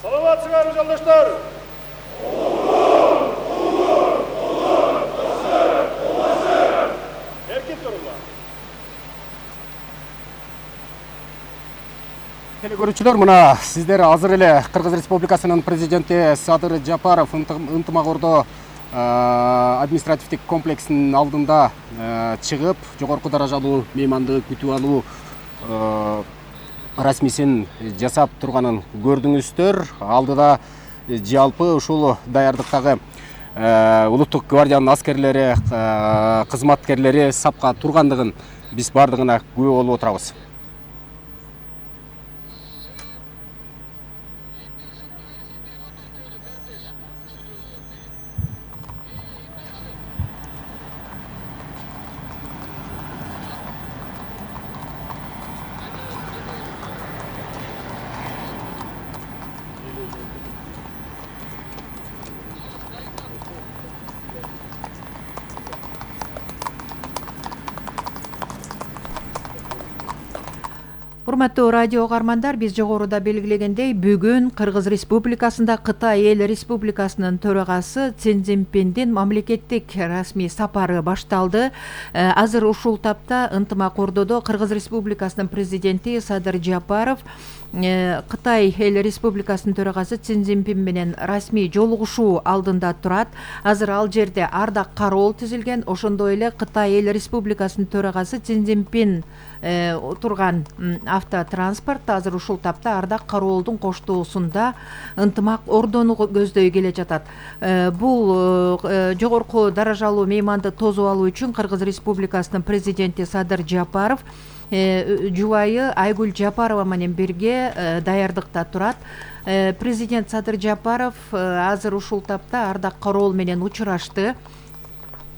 Саламатсыңарбы жолдоштор? Эркин туруңлар. Телекөрүүчүлөр, мына сиздер азыр эле Кыргыз Республикасынын президенти Садыр Жапаров ынтымак-ордо административдик комплексинин алдында чыгып, жогорку даражалуу мейманды күтүп алуу расмисин жасап турганын көрдүңүздөр. Алдыда жалпы ушул даярдыктагы улуттук гвардиянын аскерлери, кызматкерлери сапка тургандыгын биз бардыгына күбө болуп отурабыз. Урматтуу радио угармандар, биз жогоруда белгилегендей, бүгүн Кыргыз Республикасында Кытай Эл Республикасынын төрагасы Цзин Цзиньпиндин мамлекеттик расмий сапары башталды. Азыр ушул тапта ынтымак-ордодо Кыргыз Республикасынын президенти Садыр Жапаров Кытай Эл Республикасынын төрагасы Цзин Цзиньпин менен расмий жолугушуу алдында турат. Азыр ал жерде ардак кароол түзүлгөн. Ошондой эле Кытай Эл Республикасынын төрагасы Цзин Цзиньпин турган автотранспорт азыр ушул тапта ардак кароолдун коштоосунда ынтымак-ордону көздөй келе жатат. Бул жогорку даражалуу мейманды тосуп алуу үчүн Кыргыз Республикасынын президенти Садыр Жапаров жубайы Айгүл Жапарова менен бирге даярдыкта турат. Президент Садыр Жапаров азыр ушул тапта ардак кароол менен учурашты.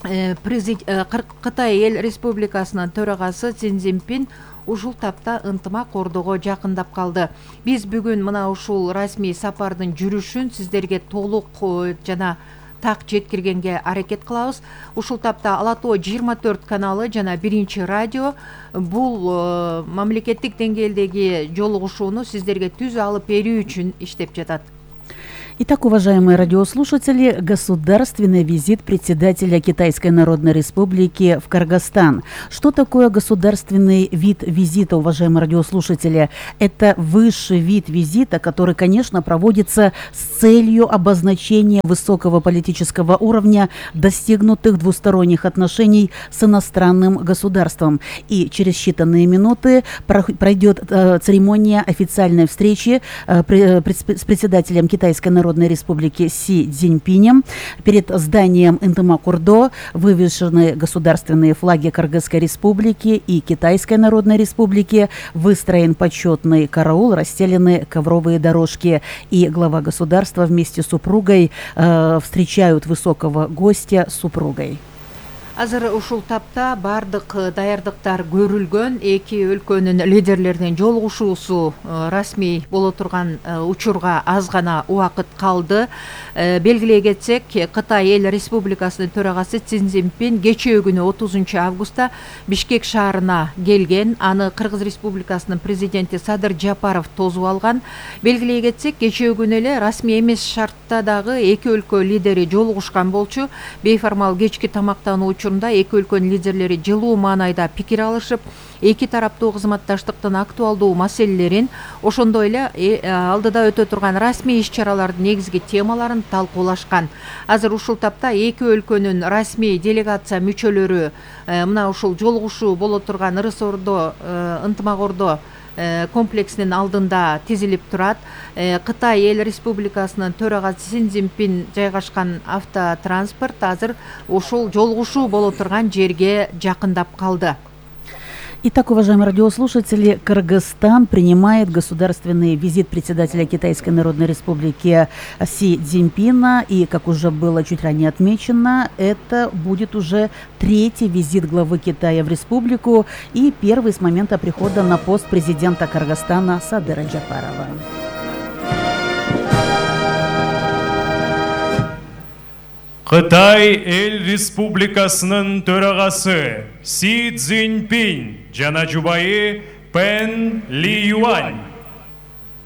Кытай Эл Республикасынын төрагасы Цзин Цзиньпин ушул тапта ынтымак-ордого жакындап калды. Биз бүгүн мына ушул расмий сапардын жүрүшүн сиздерге толук жана так жеткиргенге аракет кылабыз. Ушул тапта Ала Тоо 24 каналы жана 1 радио бул мамлекеттик деңгээлдеги жолугушууну сиздерге түз алып берүү үчүн иштеп жатат. Итак, уважаемые радиослушатели, государственный визит председателя Китайской Народной Республики в Кыргызстан. Что такое государственный вид визита, уважаемые радиослушатели? Это высший вид визита, который, конечно, проводится с целью обозначения высокого политического уровня достигнутых двусторонних отношений с иностранным государством. И через считанные минуты пройдет церемония официальной встречи с председателем Китайской Народной Республики Си Цзиньпинем. Перед зданием ынтымак-ордо вывешены государственные флаги Кыргызской Республики и Китайской Народной Республики, выстроен почетный караул, расстелены ковровые дорожки, и глава государства вместе с супругой встречают высокого гостя с супругой. Азыр ушул тапта бардык даярдыктар көрүлгөн. Эки өлкөнүн лидерлеринин жолугушуусу расмий боло турган учурга аз гана убакыт калды. Белгилей кетсек, Кытай Эл Республикасынын төрагасы Цзин Цзиньпин кечээ күнү 30 августта Бишкек шаарына келген. Аны Кыргыз Республикасынын президенти Садыр Жапаров тосуп алган. Белгилей кетсек, кечээ күнү эле расмий эмес шартта дагы эки өлкө лидери жолугушкан болчу. Бейформал кечки тамактануу эки өлкөнүн лидерлери жылуу маанайда пикир алышып, эки тараптуу кызматташтыктын актуалдуу маселелерин, ошондой эле алдыда өтө турган расмий иш-чаралардын негизги темаларын талкуулашкан. Азыр ушул тапта эки өлкөнүн расмий делегация мүчөлөрү мына ушул жолугушуу боло турган Ырыс-Ордо ынтымак-ордо комплексинин алдында тизилип турат. Кытай Эл Республикасынын төрагасы Цзин Цзиньпин жайгашкан автотранспорт азыр ушул жолугушуу боло турган жерге жакындап калды. Итак, уважаемые радиослушатели, Кыргызстан принимает государственный визит председателя Китайской Народной Республики Си Цзиньпина. И, как уже было чуть ранее отмечено, это будет уже третий визит главы Китая в республику и первый с момента прихода на пост президента Кыргызстана Садыра Жапарова. Кытай Эл Республикасынын төрагасы Си Цзиньпин жана жубайы Пен Ли Юань